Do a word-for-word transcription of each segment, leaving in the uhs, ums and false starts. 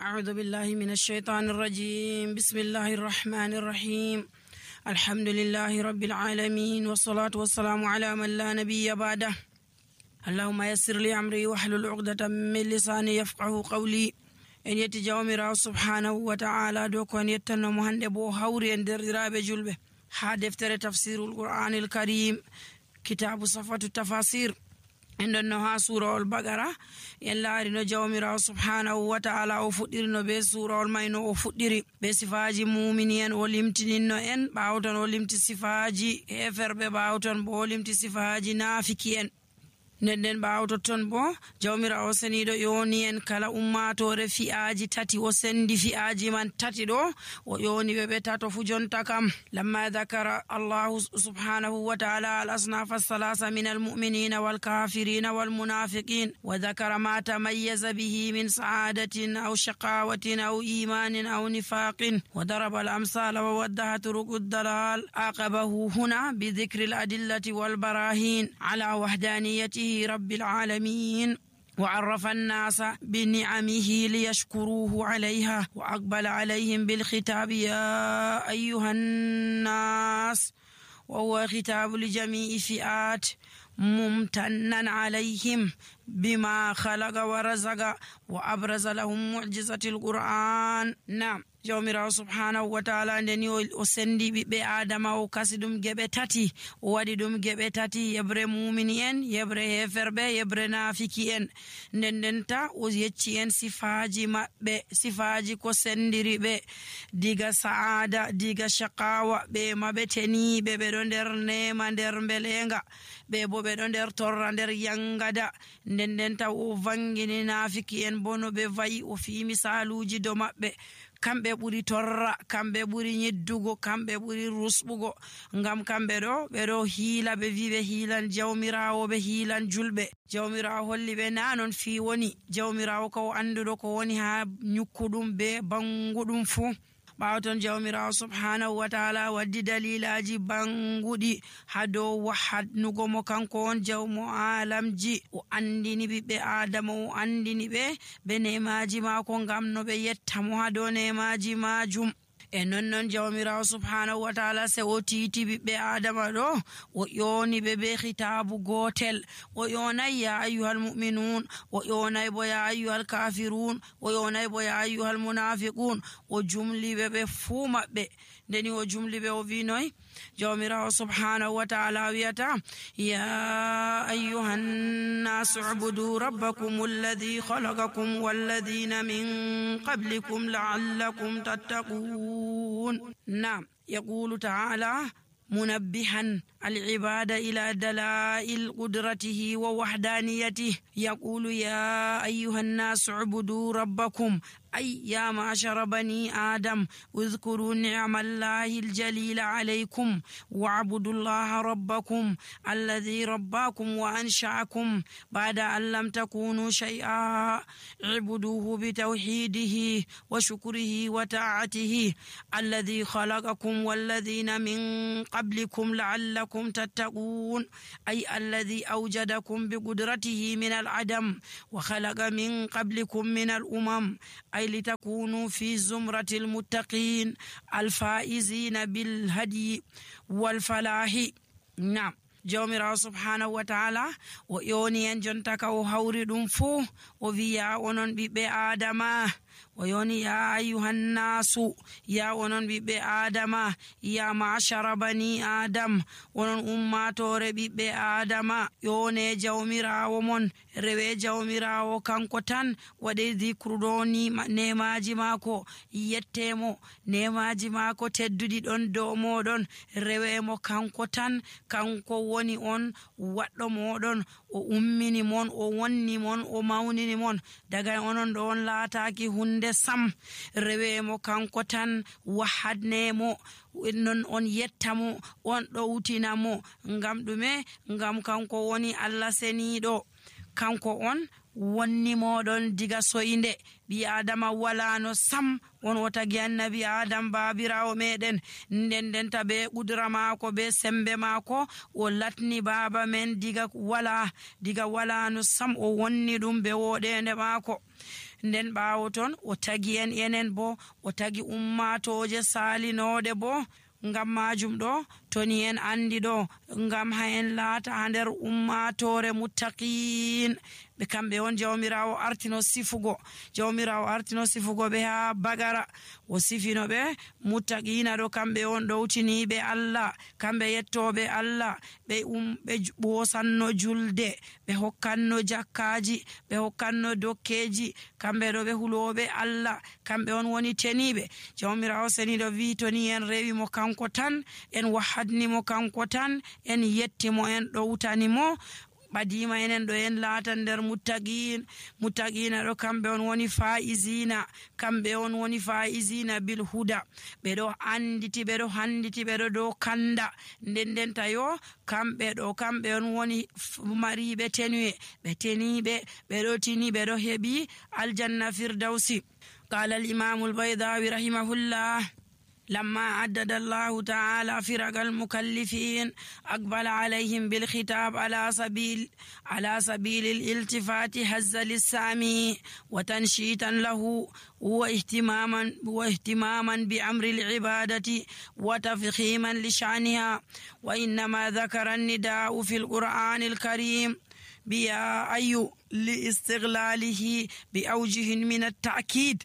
أعوذ بالله من الشيطان الرجيم. بسم الله الرحمن الرحيم. الحمد لله رب العالمين، والصلاة والسلام على من لا نبي بعده. اللهم يسر لي أمري واحلل عقدة من لساني يفقه قولي. en yetti jawmirawo subhanahu wa ta'ala do ko en yettanno hande bo hawri en derdiraabe julbe ha deftere tafsirul qur'anil karim kitabu safatu tafasir en don no ha surahul baqara en laari no jawmirawo subhanahu wa ta'ala o fuddiri be surahul mayno o fuddiri be sifaji mu'minin o limtininno en bawton o limti sifaji heferbe bawton bo limti sifaji nafiki en nden baawto ton bo jawmirawo senido yoni en kala ummatore fi'aji tati o sendi fi'aji man tati do o yoni be tato fu jonta kam lamma dhakara Allah subhanahu wa ta'ala al-asnaf as-salasa min al-mu'minina wal-kafirina wal-munafiqin wa dhakara ma tamayyaza bihi min sa'adatin aw shaqawatin aw imanin aw nifaqin wa daraba al-amsala wa waddaha turuq ad-dalal aqabahu huna bi dhikri al-adillati wal-barahin ala wahdaniyati رب العالمين وعرف الناس بنعمه ليشكروه عليها وأقبل عليهم بالخطاب يا أيها الناس، وهو خطاب لجميع فئات ممتنا عليهم بما خلق ورزق وأبرز لهم معجزة القرآن. نعم jawmirawo subhanahu wa ta'ala ndeni o sendi ɓiɓɓe adama o kasi ɗum geɓe tati o waɗi ɗum geɓe tati yebre mumini en yebre heferɓe yebre nafiki en nden ndenta o yecci en sifaji maɓɓe sifaji ko sendiri ɓe diga saada diga shaqawa ɓe maɓe teniɓe ɓeɗo nder nema nder belenga ɓe bo ɓeɗo nder torra nder yangada nden ndenta o vangini nafiki en bo no ɓe vayi o fi misaluji do maɓɓe kamɓe ɓuri torra kamɓe ɓuri nyiddugo kamɓe ɓuri rusɓugo ngam kamɓe ɗo ɓeɗo hiila ɓe wi ɓe hiilan jawmirawo ɓe hiilan julɓe jawmirawo holli ɓe na non fi woni jawmirawo ko anduɗo ko woni ha nyukkuɗum be banguɗum fu ɓawton jawmirawo subhanahu wa ta'ala waddi dalilaji banguɗi ha dow wahadnugo mo kanko on jawmo alamji o andini ɓiɓɓe adama o andini ɓe be nemaji mako ngam no ɓe yettamo ha dow nemaji majum e non non jawmirawo subhanahu wa ta'ala se o titi ɓiɓɓe adama ɗo o yoni ɓe be khitabu gotel o yonay ya ayyuhal mu'minun o yonay bo ya ayyuhal kafirun o yonay bo ya ayyuhal munafiqun o jumli ɓe ɓe fuu maɓɓe ndeni o jumli ɓe o wi noy jawmirawo subhanahu wa ta'ala wiyata ya ayyuhan nasu ubudu rabbakum alladhi khalaqakum walladhina min qablikum la'allakum tattaqun. نعم يقول تعالى منبها العبادة إلى دلائل قدرته ووحدانيته يقول يا أيها الناس اعبدوا ربكم أي يا معشر بني آدم اذكروا نعم الله الجليل عليكم واعبدوا الله ربكم الذي رباكم وأنشأكم بعد أن لم تكونوا شيئا اعبدوه بتوحيده وشكره وطاعته الذي خلقكم والذين من قبلكم لعلكم تتقون أي الذي أوجدكم بقدرته من العدم وخلق من قبلكم من الأمم أي لتكونوا في زمرة المتقين الفائزين بالهدي والفلاح. نعم jawmirawo subhanahu wa ta'ala o yoni en jontaka o hawri ɗum fuu o wiya onon ɓiɓɓe adama o yoni ya ayyuhan nasu ya onon ɓiɓɓe adama ya ma'ashara bani adam onon ummatore ɓiɓɓe adama yone jawmirawo mon rewe jawmirawo kanko tan waɗe dhikruɗo ni nemaji mako yettemo nemaji mako tedduɗi ɗon dow moɗon rewemo kanko tan kanko woni on waɗɗo moɗon o ummini mon o wonni mon o mawnini mon daga onon ɗo on laataki hunde sam rewemo kanko tan wahadnemo non on yettamo on ɗowtinamo ngam ɗume ngam kanko woni Allah seniɗo kanko on wonni moɗon diga soyinde ɓi adama walano sam on o tagi annabi adam babirawo meɗen nden ndenta be ƙudura maako be sembe maako o latni baba men diga wala diga walano sam o wonni ɗum be woɗende maako. Nden ɓawo ton o tagi en enen bo o tagi ummatoje salinoɗe bo ngam majum ɗo toni en andi ɗo ngam ha en laata ha nder ummatore muttaqin ɓe kamɓe on jawmirawo artino sifugo jawmirawo artino sifugo ɓe ha bagara o sifino ɓe muttaqina ɗo kamɓe on ɗowtiniɓe Allah kamɓe yettoɓe Allah ɓe um ɓe ɓosanno julde ɓe hokkanno jakkaji ɓe hokkanno dokkeji kamɓe ɗo ɓe huloɓe Allah kamɓe on woni teniɓe. Jawmirawo seniɗo wi toni en rewimo kanko tan en wahadnimo kanko tan en yettimo en ɗowtanimo ɓadima enen ɗo en laata nder muttaqin muttaqina ɗo kamɓe on woni faizina kamɓe on woni faizina bil huda ɓeɗo anditi ɓeɗo handiti ɓeɗo dow kanda nden ndenta yo kamɓe ɗo kamɓe on woni mariɓe tenuye ɓe teniɓe ɓeɗo tini ɓeɗo heɓi aljanna firdausi. قال الإمام البيضاوي رحمه الله لما عدد الله تعالى فرق المكلفين أقبل عليهم بالخطاب على سبيل على سبيل الالتفات هز للسامي وتنشيطا له واهتماما واهتماما بأمر العبادة وتفخيما لشأنها. وإنما ذكر النداء في القرآن الكريم بيا أي لاستغلاله بأوجه من التأكيد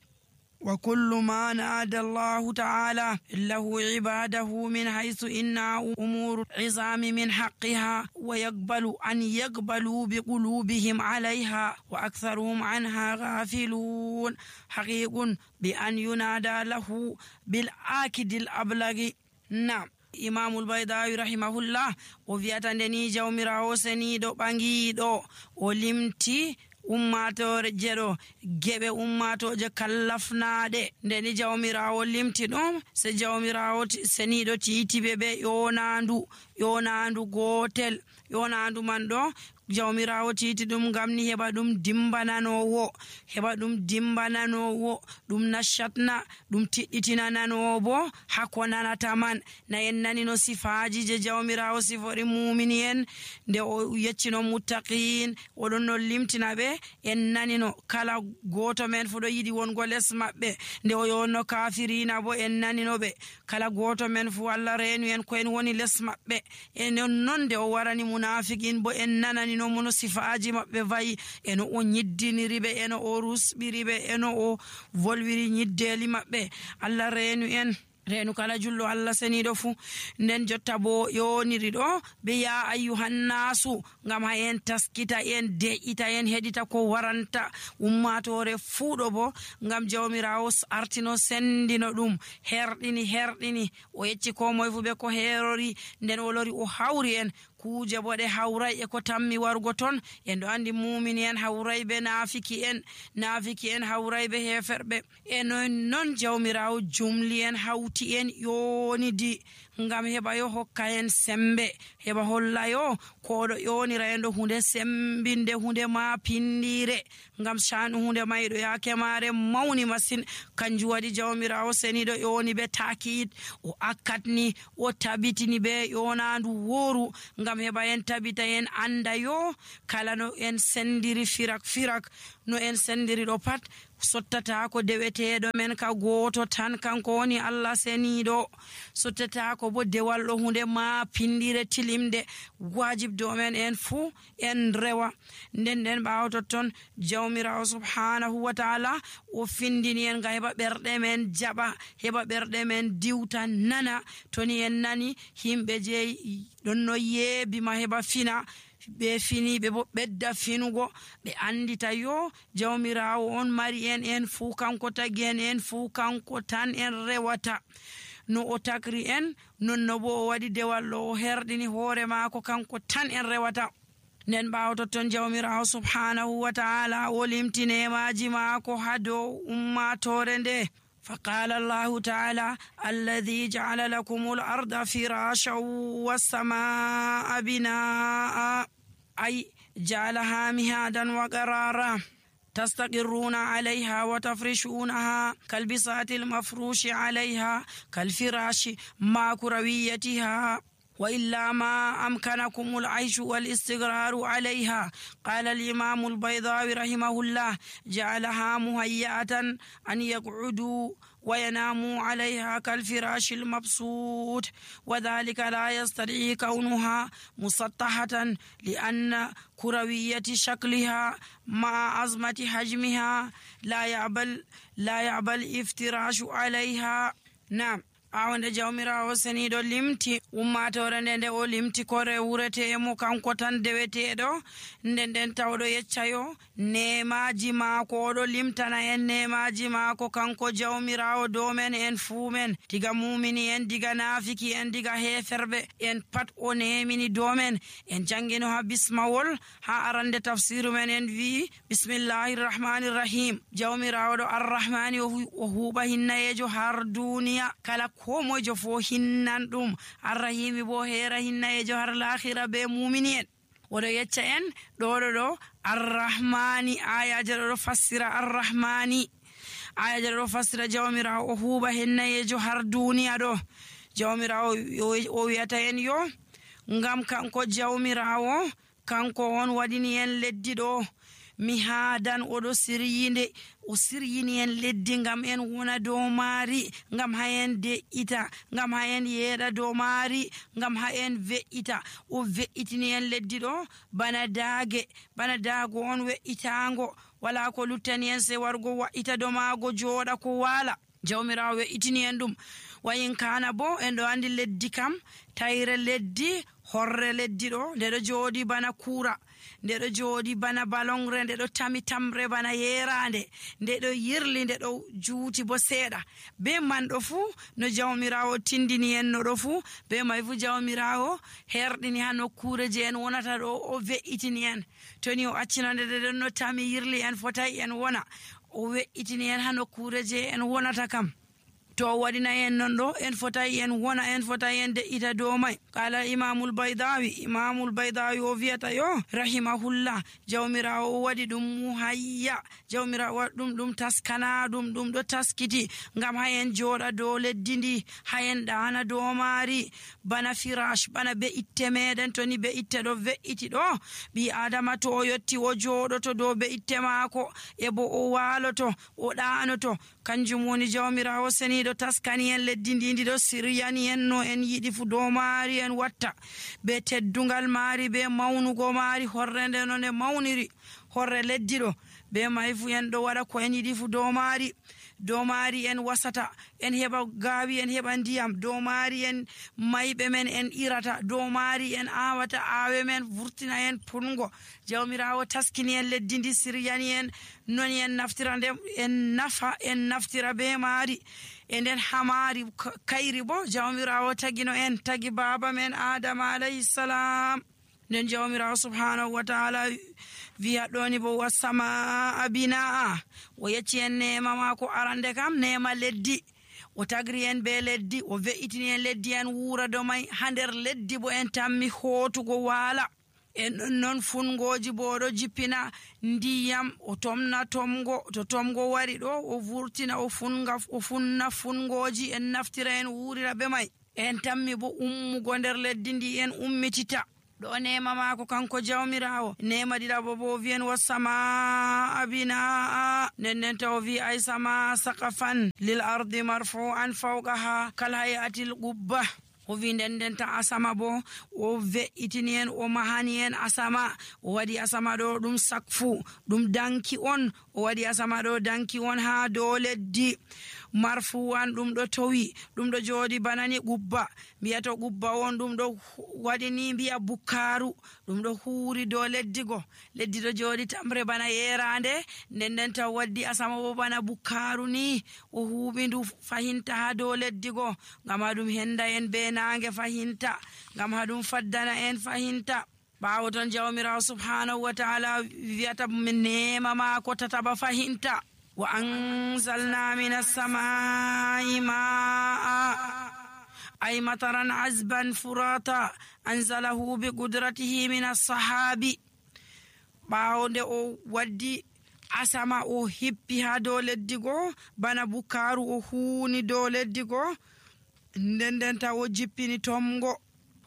وكل ما نادى الله تعالى له عباده من حيث إنها أمور عظام من حقها ويقبل أن يقبلوا بقلوبهم عليها وأكثرهم عنها غافلون حقيق بأن ينادى له بالآكد الأبلغ. نعم Imamul Baydawi rahimahullah o wi'ata ndeni jawmirawo seniɗo ɓangiɗo o limti ummatore jeɗo geɓe ummatoje kallafnaɗe ndeni jawmirawo limti ɗum se jawmirawo seniɗo titiɓe ɓe yonandu yonandu gotel yonandu man ɗo jawmirawo titi ɗum ngam ni heɓa ɗum dimbananowo heɓa ɗum dimbananowo ɗum nashatna ɗum tiɗɗitinananowo bo hako nanata man na en nani no sifaji je jawmirawo sifori mumini en nde o yeccino muttaqin oɗon no limtina ɓe en nani no kala goto men fu ɗo yiɗi wongo les maɓɓe nde o yonno kafirina bo en nani no ɓe kala goto men fu Allah renu en ko en woni les maɓɓe enen non nde o warani munafiqin bo en nanani no mono sifaji maɓɓe vayi eno o nyiddiniri ɓe eno o rusɓiri ɓe eno o volwiri nyiddeli maɓɓe Allah renu en renu kala jullo Allah seniɗo fu. Nden jotta bo yoniri ɗo be ya ayyuhannasu ngam ha en taskita en de'ita en heɗita ko waranta ummatore fuuɗo bo ngam jawmirawo artino sendino ɗum herɗini herɗini o yecci ko moye fu ɓe ko herori nden o lori o hawri en kuje boɗe hawray e ko tammi wargo ton en ɗo andi mumini en hawray be nafiki en nafiki en hawray be heferɓe eno non jawmirawo jumli en hawti en yonidi ngam heɓa yo hokka en sembe heɓa holla yo koɗo yonira en ɗo hunde sembinde hunde ma pindire ngam shanu hunde mayɗo yake mare mawni masin kanju waɗi jawmirawo seniɗo yoni be takid o akkatni o tabitini be yonandu woru ngam heɓa en tabita en anda yo kala no en sendiri firak firak no en sendiri ɗo pat sottata ko deweteɗo men ka goto tan kanko woni Allah seniɗo sottata ko bo dewal ɗo hunde ma pindire tilimde wajib do men en fu en rewa nden nden ɓawo totton jawmirawo subhanahu wa ta'ala o findini en ga heɓa ɓerɗe men jaɓa heɓa ɓerɗe men diwta nana toni en nani himɓe je ɗon no yeebima heɓa fina ɓe fini ɓe bo ɓedda finugo ɓe andita yo jawmirawo on mari en en fuu kanko tagi en en fuu kanko tan en rewata no o takri en non no bo o waɗi dewal ɗo o herɗini hoore maako kanko tan en rewata nden ɓawo totton jawmirawo subhanahu wa ta'ala o limtinemaji maako ha dow ummatore nde فقال الله تعالى الذي جعل لكم الأرض فراشا والسماء بناء أي جعلها مهادا وقرارا تستقرون عليها وتفرشونها كالبساط المفروش عليها كالفراش مع كرويتها، وإلا ما أمكنكم العيش والاستقرار عليها. قال الإمام البيضاوي رحمه الله: جعلها مهيئة أن يقعدوا ويناموا عليها كالفراش المبسوط، وذلك لا يستدعي كونها مسطحة لأن كروية شكلها مع عظمة حجمها لا يعبل لا يعبل الافتراش عليها. نعم awande jawmirawo seniɗo limti ummatore nde nde o limti kore wuretemo kanko tan deweteɗo nden nden tawɗo yeccayo nemaji maako oɗo limtana en nemaji maako kanko jawmirawo dow men en fuu men, diga mumini en, diga nafiki en, diga heferɓe en pat o nemini dow men. En jangino ha bismawol ha arande tafsiru men en wi bismillahi rrahmani rrahim, jawmirawo ɗo arrahmani o huuɓa hinnayejo har duniya kala ko mojo fo hinnan ɗum, arrahimi bo hera hinnayejo har lahira be mumini en. oɗo yecca en ɗoɗo ɗo arrahmani, ayaje ɗo fassira arrahmani, ayaje ɗo fassira jawmirawo o huuɓa hinnayejo har duniya ɗo. jawmirawo o wiyata en yo ngam kanko jawmirawo kanko on waɗini en leddi ɗo mihadan, oɗo siryinde o siryini en leddi ngam en wona dow maari, ngam ha en de'ita, ngam ha en yeeɗa dow maari, ngam ha en ve'ita. o ve'itini en leddi ɗo bana daage, bana daago on we'itango, wala ko luttani en se wargo wa'ita dow maago jooɗa ko waala. jawmirawo we'itini en ɗum. wayin kana bo en ɗo andi leddi kam tayre leddi, horre leddi ɗo nde ɗo jooɗi bana kuura, nde ɗo jooɗi bana balongre, nde ɗo tami tamre bana yerande, nde ɗo yirli, nde ɗo juuti bo seeɗa. be man ɗo fuu no jawmirawo tindini en no ɗo fuu, be may fuu jawmirawo herɗini ha nokkure je en wonata ɗo o ve'itini en. toni o accinande nde ɗon no tami yirli en fotai en wona, o we'itini en ha nokkure je en wonata kam. to o waɗina en non ɗo en fotai en wona, en fotai en de'ita dow may. kala imamul baydawi, imamul baydawi o wiyata yo rahimahullah, jawmirawo o waɗi ɗum muhayya, jawmirawo waɗi ɗum ɗum taskana ɗum ɗum ɗo taskiti ngam ha en jooɗa dow leddi ndi, ha en ɗana dow maari bana firash, bana be itte meɗen. to ni be itte ɗo ve'iti ɗo, ɓi adama to o yotti o jooɗoto dow be itte maako e bo o waaloto o ɗanoto, kanjum woni jawmirawo seni ɗo taskani en leddi ndi, ndi ɗo siryani en no en yiɗi fu dow maari en watta, be teddungal maari, be mawnugo maari, horre nde no nde mawniri, horre leddi ɗo be may fu en ɗo waɗa ko en yiɗi fu dow maari. dow maari en wasata, en heɓa gaawi, en heɓa ndiyam, dow maari en mayɓe men en irata, dow maari en awata aawe men, vurtina en pungo. jawmirawo taskini en leddi ndi, siryani en noni en naftira nde en nafa en naftira be maari. e nden hamari kayri bo jawmirawo tagino en, tagi baba men adama alayhi salam. nden jawmirawo subhanahu wa ta'ala wiya ɗoni bo wasama abinaa, o yecci en nema mako arande kam nema leddi, o tagri en be leddi, o ve'itini en leddi en wuura do may. ha nder leddi bo en tammi hootugo waala, en ɗon noon fungoji bo ɗo jippina ndiyam, o tomna tomgo, to tomgo wari ɗo o vurtina o funga o funna fungoji, en naftira en wuurira be may. en tammi bo ummugo nder leddi ndi en ummitita ɗo nema mako kanko jawmirawo. nema ɗiɗaɓo bo wiyen wasama abinaa, nden nden taw wi ay sama saqafan lil ardi marfu'an fawqaha kal hayatil qubba. o wi nden nden ta asama bo o ve'itini en, o mahani en asama, o waɗi asama ɗo ɗum sakfu, ɗum danki on, o waɗi asama ɗo danki on ha dow leddi. marfuwan ɗum ɗo towi, ɗum ɗo jooɗi banani qubba, mbiyato qubba on ɗum ɗo waɗi ni mbiya bukkaru, ɗum ɗo huuri dow leddi go, leddi ɗo jooɗi tamre bana yerande, nden nden taw waddi asama bo bana bukkaru ni, o huuɓi ndu fahinta ha dow leddi go, ngam ha ɗum henda en be nange fahinta, ngam ha ɗum faddana en fahinta. ɓawo ton jawmirawo subhanahu wa ta'ala wiyata nema mako tataba fahinta. wa anzalna minas samai ma'a ay mataran azban furata anzalahu bi qudratihi minas sahabi. ɓaawo nde o waddi asama o hippi ha dow leddi goo bana bukaaru o huuni dow leddi goo nden nden taw o jippini tomgo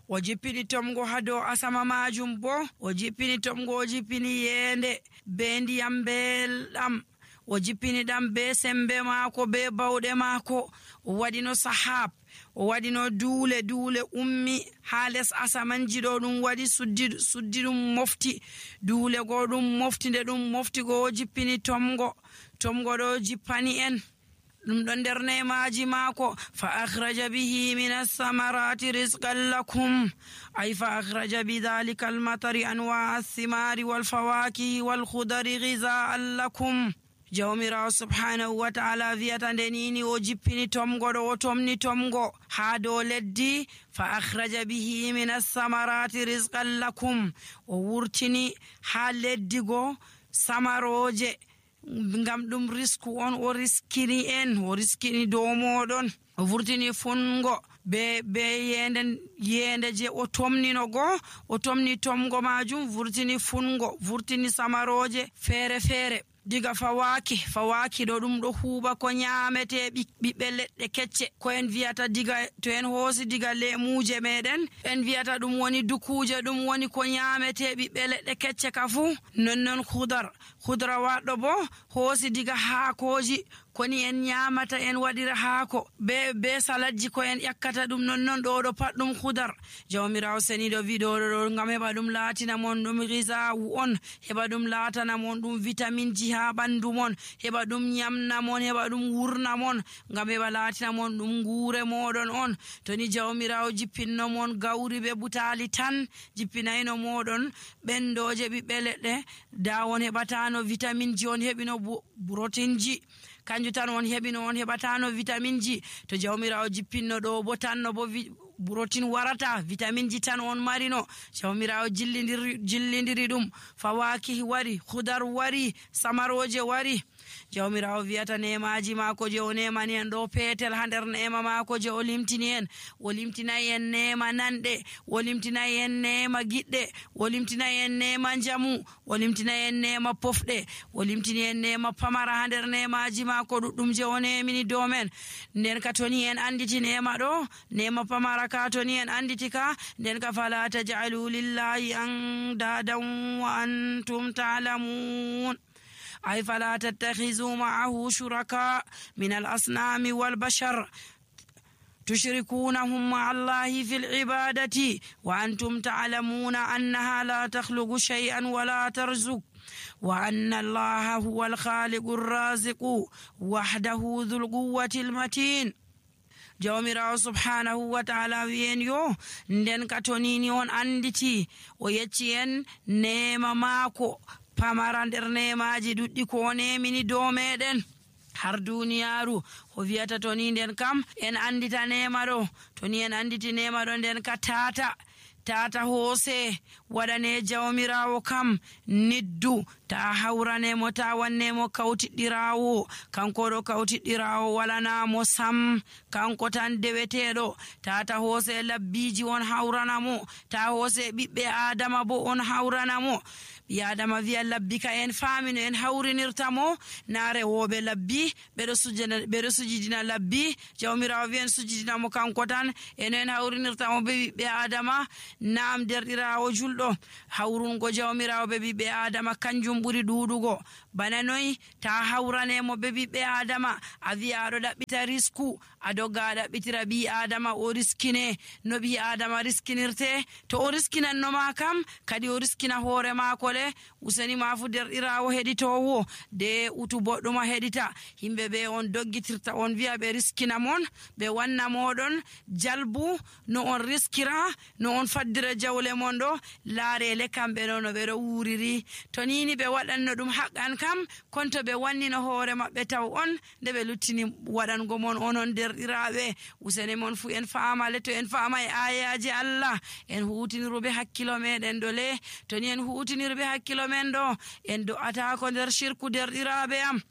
o jippini tomgo ha dow asama majum bo o jippini tomgo o jippini yeende be ndiyam belɗam o jippini ɗam be sembe maako be bawɗe maako o waɗino sahab o waɗino duule duule ummi ha les asamanji ɗo ɗum waɗi suddi suddi ɗum mofti duule goo ɗum mofti nde ɗum mofti goo o jippini tomgo tomgo ɗo jippani en ɗum ɗo nder nemaji maako fa akhraja bihi min as-samarati rizqan lakum ay fa akhraja bidhalika al-matari anwa ath-thimari wal-fawakihi wal-khudari ghizaan lakum jawmirawo subhanahu wa ta'ala wiyata nde nini o jippini tomgo ɗo o tomni tomgo ha dow leddi fa akhraja bihi min as-samarati rizqan lakum o wurtini ha leddi go samaroje ngam ɗum risku on o riskini en o riskini dow moɗon o vurtini fungo be be yende yende je o tomnino go o tomni tomgo majum vurtini fungo vurtini samaroje feere feere diga fawaki fawaki ɗo ɗum ɗo huuɓa ko ñaamete ɓiɓɓe leɗɗe kecce ko en wiyata diga to en hoosi diga lemuje meɗen en wiyata ɗum woni dukuje ɗum woni ko ñaamete ɓiɓɓe leɗɗe kecce ka fuu nonnon hudar hudra waɗɗo bo hoosi diga haakoji koni en ñamata en waɗira haako be be saladji ko en ƴakkata ɗum nonnon ɗo ɗo pat ɗum hudar jawmirawo seniɗo wiɗoɗo ɗo ngam heɓa ɗum laatina mon ɗum gisawu on heɓa ɗum laatana mon ɗum vitamine ji ha ɓandu mon heɓa ɗum ñamna mon heɓa ɗum wurna mon ngam heɓa laatina mon ɗum guure moɗon on to ni jawmirawo jippinno mon gawri be butali tan jippinayno moɗon ɓendoje ɓiɓɓe leɗɗe da on heɓatano vitamine ji on heɓino protein ji kanju tan on heɓino on heɓatano vitamine ji to jawmirawo jippinno ɗo bo tanno bo protein warata vitamine ji tan on marino jawmirawo jillidiri jillidiri ɗum fawaki wari hudar wari samaroje wari jawmirawo wiyata nemaji maako je o nemani en ɗo peetel ha nder nema maako je o limtini en o limtinayi en nema nanɗe o limtinayi en nema giɗɗe o limtinayi en nema jamu o limtinayi en nema pofɗe o limtini en nema pamara ha nder nemaji maako ɗuɗɗum je o nemini dow men nden ka toni en anditi nema ɗo nema pamara ka toni en anditi ka nden ka fala taj'alu lillahi andadan wa antum ta'lamun أي فلا تتخذوا معه شركاء من الأصنام والبشر تشركونهم مع الله في العبادة وأنتم تعلمون أنها لا تخلق شيئا ولا ترزق وأن الله هو الخالق الرازق وحده ذو القوة المتين jawmirawo subhanahu wa ta'ala wiyen yo nden ka tonini on anditi o yecci en nema maako pamara nder nemaji ɗuɗɗi ko nemini dow meɗen har duniyaru o wiyata to ni nden kam en andita nema ɗo to ni en anditi nema ɗo nden ka tata tata hoose waɗane jawmirawo kam niddu ta hawranemo ta wannemo kawtiɗɗirawo kanko ɗo kawtiɗɗirawo walanamo sam kanko tan deweteɗo tata hoose labbiji on hawranamo ta hoose ɓiɓɓe adama bo on hawranamo ɓi adama wiya labbi ka en faamino en hawrinirta mo na rewoɓe labbi ɓeɗo sujana ɓeɗo sujidina labbi jawmirawo wiyen sujidina mo kanko tan eno en hawrinirta mo ɓe ɓiɓɓe adama nam derɗirawo julɗo hawrungo jawmirawo ɓe ɓiɓɓe adama kanjum ɓuri ɗuɗugo bana noyi ta hawranemo ɓe ɓiɓɓe adama a wiya aɗo ɗaɓɓita risku a dogga a ɗaɓɓitira ɓi adama o riskine no ɓi adama riskinirte to o riskinannoma kam kadi o riskina hoore mako le useni mafu derɗirawo heɗitowo de utu boɗɗuma heɗita himɓe ɓe on doggitirta on wiya ɓe riskina mon ɓe wanna moɗon jalbu no on riskira no on faddira jawle mon ɗo laarele kamɓe ɗo no ɓeɗo wuriri to nini ɓe waɗanno ɗum haqqan kam konto ɓe wannino hoore maɓɓe taw on nde ɓe luttini waɗango mon onon derɗiraɓe useni mon fu en famale to en fama e ayaji Allah en hutiniruɓe hakkilo meɗen ɗo le to ni en hutinirɓe hakkilo men ɗo en do'ata ko nder shirku derɗiraɓe am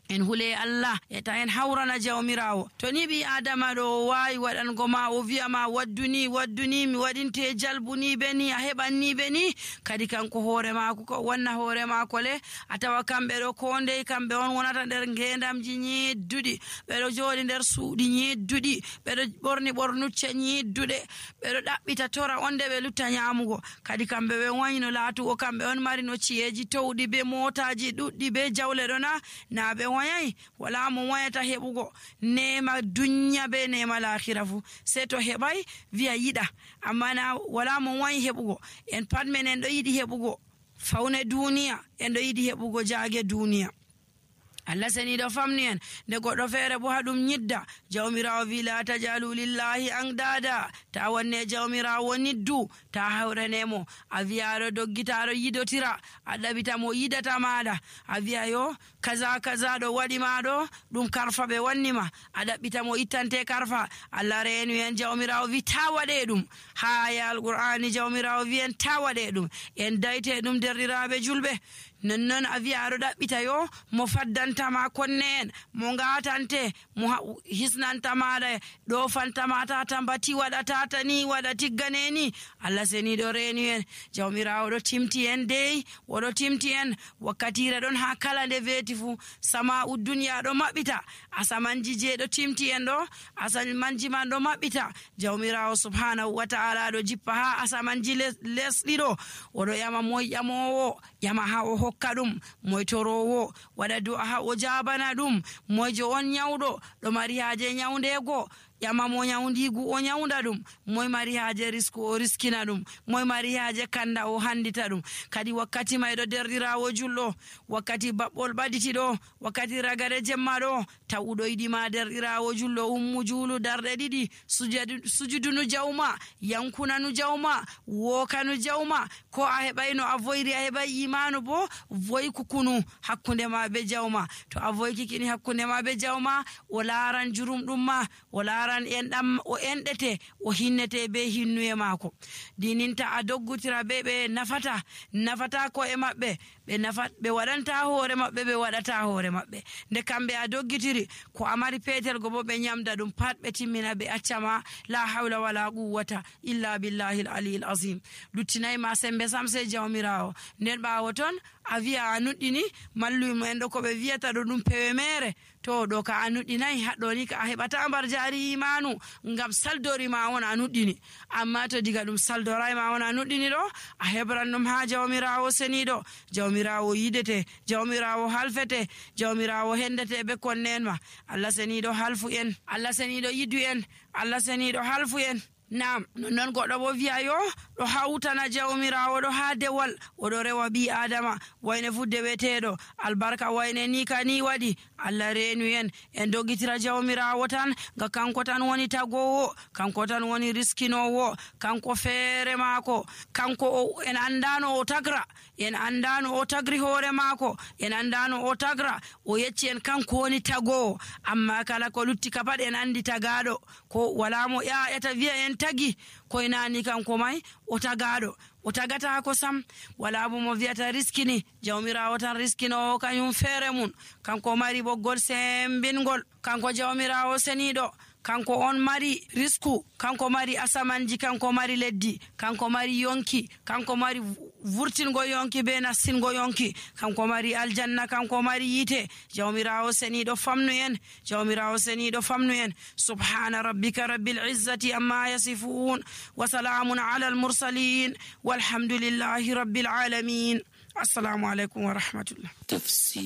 en hule Allah e ta en hawrana jawmirawo. To ni bi adama ɗo wawi waɗango ma o wiyama wadduni wadduni mi waɗinte jalbuni be ni a heɓanni be ni, kadi kanko hoore mako ko wonna hoore mako le a tawa kamɓe ɗo ko ndey kamɓe on wonata nder ngendamji ñedduɗi, ɓeɗo jooɗi nder suuɗi ñedduɗi, ɓeɗo ɓorni ɓornucce ñedduɗe, ɓeɗo ɗaɓɓita tora on nde ɓe lutta ñamugo. Kadi kamɓe ɓe wayno laatugo kamɓe on mari no ci'eji towɗi be motaji ɗuɗɗi be jawle ɗo na na ɓe wayai. Wala mo wayata heɓugo nema dunya be nema lahira fu sei to heɓai wiya yiɗa, amma na wala mo wayi heɓugo. En pat men en ɗo yiɗi heɓugo fawne duniya, en ɗo yiɗi heɓugo jaage duniya. Allah seniɗo famni en nde goɗɗo feere bo haɗum ñidda, jawmirawo wi la tajalu lillahi andada, ta wanne jawmirawo niddu, ta hawranemo. A wiya aɗo doggita aɗo yidotira, a ɗaɓita mo yidata maɗa, a wiya yo kaza kaza ɗo waɗi ma ɗo ɗum karfa ɓe wannima, a ɗaɓɓita mo ittante karfa. Allah reenu en jawmirawo wi ta waɗe ɗum, ha aya alqur'ani jawmirawo wi en ta waɗe ɗum. En dayte ɗum derɗiraɓe julɓe. nonnon a wiya aɗo ɗaɓɓita yo mo faddantama konne en, mo ngatante, mo hisnanta maɗa, ɗo fantama tata mbati waɗata tani waɗa tiggane ni. Allah seniɗo reeni en jawmirawo ɗo timti en dey, oɗo timti en wakkatire ɗon ha kala nde weeti fu sama'u duniya ɗo maɓɓita, asamanji je ɗo timti en ɗo asamanji man ɗo maɓɓita. Jawmirawo subhanahu wa ta'ala ɗo jippa ha asamanji lesɗi ɗo, oɗo ƴama moy ƴamowo ƴama ha o hokka ɗum, moy torowo waɗa du'a ha o jabana ɗum, moyjo on nyawɗo ɗo mari haaje nyawndego ƴama mo nyawndigu o nyawnda ɗum, moy mari haaje risku o riskina ɗum, moy mari haaje kanda o handita ɗum. Kadi wakkati mayɗo derɗirawo julɗo, wakkati baɓɓol ɓaɗiti ɗo, wakkati ragare jemma ɗo, tawuɗo yiɗima derɗirawo julɗo ummu juulu darɗe ɗiɗi, sujudunu jawma, yankunanu jawma, wokanu jawma, ko a heɓay no a voyri a heɓay imanu bo voyku kunu hakkunde ma be jawma. To a voykikini hakkunde ma be jawma, o laaran jurum ɗum ma, o laaran enɗam o enɗete, o hinnete be hinnuye maako. Dininta a doggutira be ɓe nafata nafata ko e maɓɓe, ɓe nafat ɓe waɗanta hoore maɓɓe, ɓe waɗata hoore maɓɓe. Nde kamɓe a doggitiri ko a mari petel go bo ɓe nyamda ɗum pat ɓe timmina ɓe accama. La hawla wala quwwata illa billahi al aliyil azim. Luttinayi ma sembe sam sey jawmirawo. Nden ɓawo ton a wiya a nuɗɗini mallum en ɗo ko ɓe wiyata ɗo ɗum pewe mere, to ɗo ka a nuɗɗinayi, haɗɗo ni ka a heɓata mbar jari imanu ngam saldori ma on a nuɗɗini. Amma to diga ɗum saldorai ma on a nuɗɗini ɗo, a heɓran ɗum ha jawmirawo seniɗo, jawmirawo yidete, jawmirawo halfete, jawmirawo hendete be konne en ma. Allah seniɗo halfu en, Allah seniɗo yidu en, Allah seniɗo halfu en. Nam non goɗɗo bo wiya yo ɗo hawtana jawmirawo ɗo ha dewal, oɗo rewa bi adama wayne fu deweteɗo, albarka wayne ni ka ni waɗi. Allah reenu en en doggitira jawmirawo tan, ga kanko tan woni tagowo, kanko tan woni riskinowo, kanko feere maako, kanko o, en andano o tagra, en andano o tagri hoore maako, en andano o tagra, o yecci en kanko woni tagowo. Amma kala ko lutti ka pat en andi tagaɗo, ko wala mo ƴaƴata wiya en tagi, koye nani kanko may o tagaɗo, o tagata ko sam. Wala bo mo wiyata riskini, jawmirawo tan riskinowo kañum feere mun, kanko mari ɓoggol sembingol, kanko jawmirawo seniɗo, kanko on mari risku, kanko mari asamanji, kanko mari leddi, kanko mari yonki, kanko mari vurtingo yonki be nassingo yonki, kanko mari aljanna, kanko mari yite. Jawmirawo seniɗo famnu en, jawmirawo seniɗo famnu en. Subhana rabbika rabbil izzati amma yasifun, wa salamun ala al mursalin, walhamdulillahi rabbil alamin. Assalamu alaikum wa rahmatullah. Tafsir.